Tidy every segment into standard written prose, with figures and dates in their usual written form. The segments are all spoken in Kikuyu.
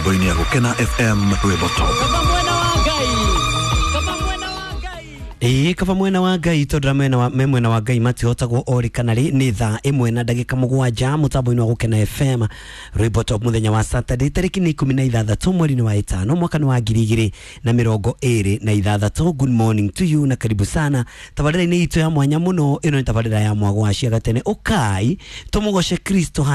Mĩtambo-inĩ ya Gũkena FM Rwĩmbo Top. Ĩĩ, kaba mwena wa Ngai, tondũ mwena wa me mwena wa Ngai matihotagwo orĩ kana rĩ. Nĩ 1:07 mũtambo-inĩ wa Gũkena FM Rwĩmbo Top, mũthenya wa Saturday, tarĩki nĩ 16 mweri-inĩ wa 5, mwaka nĩ wa 2026. Good morning to you na karibu sana tabarĩra-inĩ itũ ya mwanya mũno. Ĩno nĩ tabarĩra ya mwago wa ciaga tene, ũkai tũmũgoce Kristo,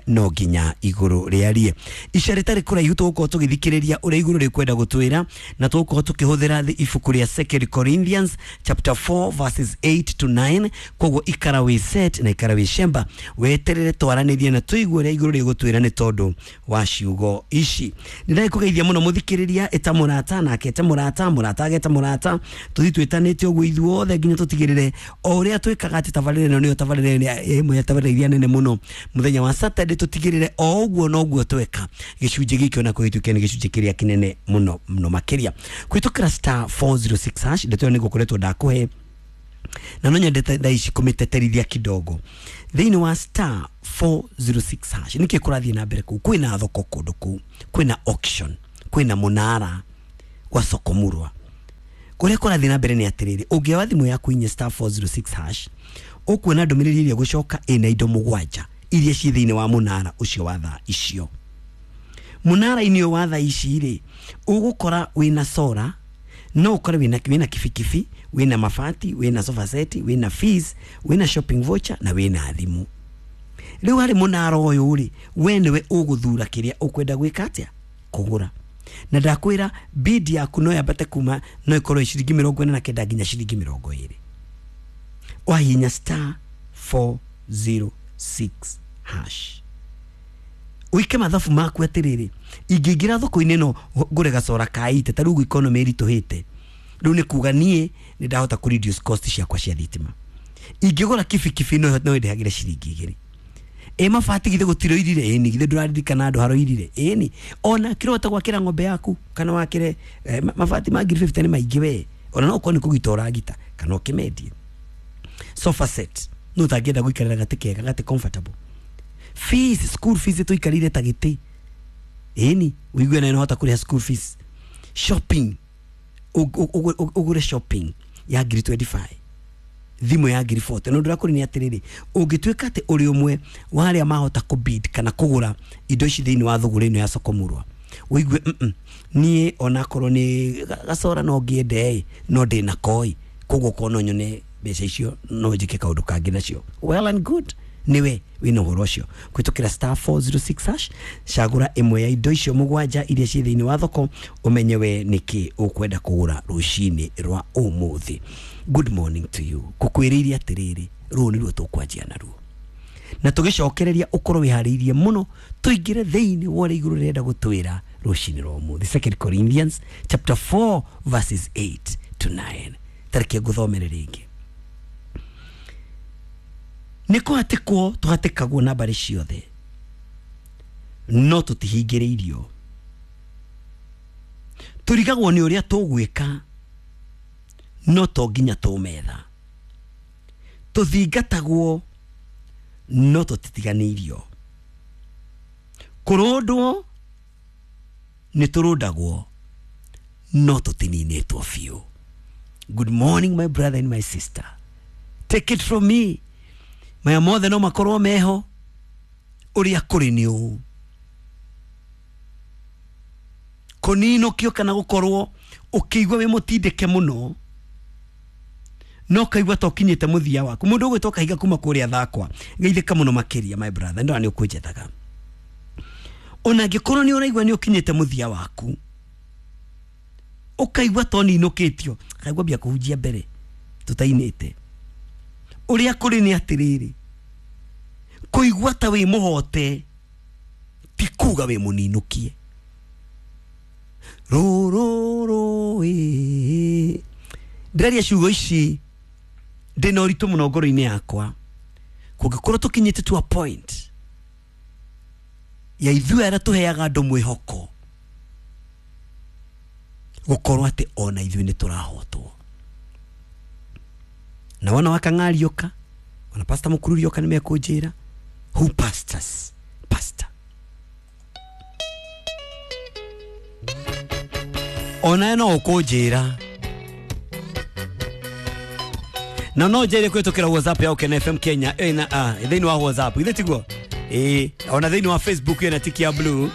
#no nginya igũrũ rĩarie. Ica rĩtarĩ kũraihu tũgũkorwo tũgĩthikĩrĩria ũrĩa igũrũ rĩkwenda gũtwĩra, na tũgũkorwo tũkĩhũthĩra ibuku rĩa Second Corinthians chapter 4 verses 8 to 9. Koguo ikara wĩ set na ikara wĩ shemba, weterere twaranĩrie na tũigue ũrĩa igũrũ rĩgũtwĩra nĩ tondũ wa ciugo ici. Nĩ ndagĩkũgeithia mũno mũthikĩrĩria. Ĩta mũrata nake ete mũrata, mũrata ageta mũrata, tũthiĩ twĩtanĩte ũguo ithuothe nginya tũtigĩrĩre o ũrĩa twĩkaga atĩ tabarĩra ĩno nĩyo tabarĩra ĩrĩa ĩmwe ya tabarĩra iria nene mũno mũthenya wa Saturday. Tũtigĩrĩre o ũguo noguo tweka gĩcunjĩ gĩkĩ ona kũhĩtũkia nĩ gĩcunjĩ kĩrĩa kĩnene mũno mũno makĩria kũhĩtũkĩra *406#. Ndeto ĩyo nĩ ngũkoretwo ndakũhe na no nyendete thaa ici kũmĩteterithia kidogo. Thĩinĩ wa *406# nĩkĩ kũrathiĩ na mbere kũu? Kwĩna thoko kũndũ kũu, kwĩna auction, kwĩna mũnara wa soko murwa. Kũrĩa kũrathiĩ na mbere nĩ atĩrĩrĩ, ũngĩoya thimũ yaku inye *406# ũkuona ndũmĩrĩri ĩrĩa gũcoka ĩna indo 7 iria ciĩ thĩinĩ wa mũnara ũcio wa thaa icio. Mũnara-inĩ ũyũ wa thaa ici rĩ, ũgũkora wĩna sora, no ũkore wĩna kibikibi, wĩna mabati, wĩna sofa set, wĩna fees, wĩna shopping voucher na wĩna thimũ. Rĩu harĩ mũnara ũyũ rĩ, we nĩwe ũgũthura kĩrĩa ũkwenda gwĩka atĩa kũgũra. Na ndakwĩra bid yaku no yambate kuma, no ĩkorwo ĩ ciringi 49 nginya ciringi 20. Wahihinya *406# ũike mathabu maku atĩrĩrĩ, ingĩingĩra thoko-inĩ ĩno ngũre gacora ka ite, ta rĩu economy ĩritũhĩte, rĩu nĩ kuga niĩ nĩ ndahota kũ reduce cost ciakwa cia thitima. Ingĩgũra kibikibi no ĩndĩhagĩre ciringi 2. Ĩ mabati githĩ gũtiroirire? Ĩni, githĩ ndũraririkana andũ haroirire? Ĩni, ona kĩrota gwakĩra ng'ombe yaku kana wakĩre mabati ma ngiri 50 nĩ maingĩ we, ona no ũkorwo nĩ kũgita ũragita kana ũkĩmendie. Sofa set no ũtangĩenda gũikarĩra gatĩ kega, gatĩ comfortable. Fees, school fees tũikarĩire ta gĩtĩ, ĩni ũigue na nĩhota kũrĩha school fees. Shopping, ũgũre shopping ya ngiri 25, thimũ ya ngiri 40. No ndĩrakũri nĩ atĩrĩrĩ, ũngĩtuĩka atĩ ũrĩ ũmwe wa arĩa mahota kũbid kana kũgũra indo ici thĩinĩ wa thũgũrĩ ĩno ya soko murwa, ũigue niĩ onakorwo nĩ gacora no ngĩende ĩ, no ndĩna koi, koguo korwo no nyone mbeca icio no njĩke kaũndũ kangĩ nacio, well and good, niwe wĩna ũhoro ũcio. Kũhĩtũkĩra *406#, cagũra ĩmwe ya indo icio 7 iria ciĩ thĩinĩ wa thoko, ũmenye we nĩkĩ ũkwenda kũgũra rũcinĩ rwa ũmũthĩ. Good morning to you. Ngũkwĩrĩire atĩrĩrĩ, rũũ nĩruo tũkwanjia naruo na tũgĩcokereria ũkorwo wĩharĩirie mũno tũingĩre thĩinĩ wa ũrĩa igũrũ rĩrenda gũtwĩra rũcinĩ rwa ũmũthĩ. Second Corinthians chapter 4 verses 8 to 9. Tareke ngũthomere rĩngĩ. Nĩ kũhatĩkwo tũhatĩkagwo na mbarĩ ciothe, no tũtihingĩrĩirio. Tũrigagwo nĩ ũrĩa tũgwĩka, no to nginya tũmetha. Tũthingatagwo, no tũtitiganĩirio. Kũrũndwo nĩ tũrũndagwo, no tũtininĩtwo biũ. Good morning my brother and my sister. Take it from me, maya mothe no makorwo meho, ũrĩa kũrĩ nĩ ũũ, kũninũkio kana gũkorwo ũkĩigua wĩ mũtindĩke mũno, no kaigua ta ũkinyĩte mũthia waku. Mũndũ ũgwĩtwo Kahiga kuma kũrĩa Thakwa, geithĩka mũno makĩria my brother, ndona nĩ ũkũnjethaga. Ona angĩkorwo nĩ ũraigua nĩ ũkinyĩte mũthia waku, ũkaigua ta ũninũkĩtio, kaigua mbia kũhunjia mbere tũtainĩte. Ũrĩa kũrĩ nĩ atĩrĩrĩ, kũigua ta wĩ mũhote ti kuga wĩ mũninũkie. Rũrũ ĩ, ndĩraria ciugo ici ndĩna ũritũ mũno ngoro-inĩ yakwa. Kũngĩkorwo tũkinyĩte to a point ya ithuĩ arĩa tũheaga andũ mwĩhoko gũkorwo atĩ ona ithuĩ nĩ tũrahotwo. Na wona wakang'ariũka, ona pastor mũkururiũka nĩ mekũnjĩra, who pastors pastor. Onawe no ũkũnjĩra na no njĩre kũhĩtũkĩra WhatsApp ya Ũkena FM Kenya ĩna thĩinĩ wa WhatsApp, githĩ tiguo? Ĩĩ, ona thĩinĩ wa Facebook ĩna tiki ya blue.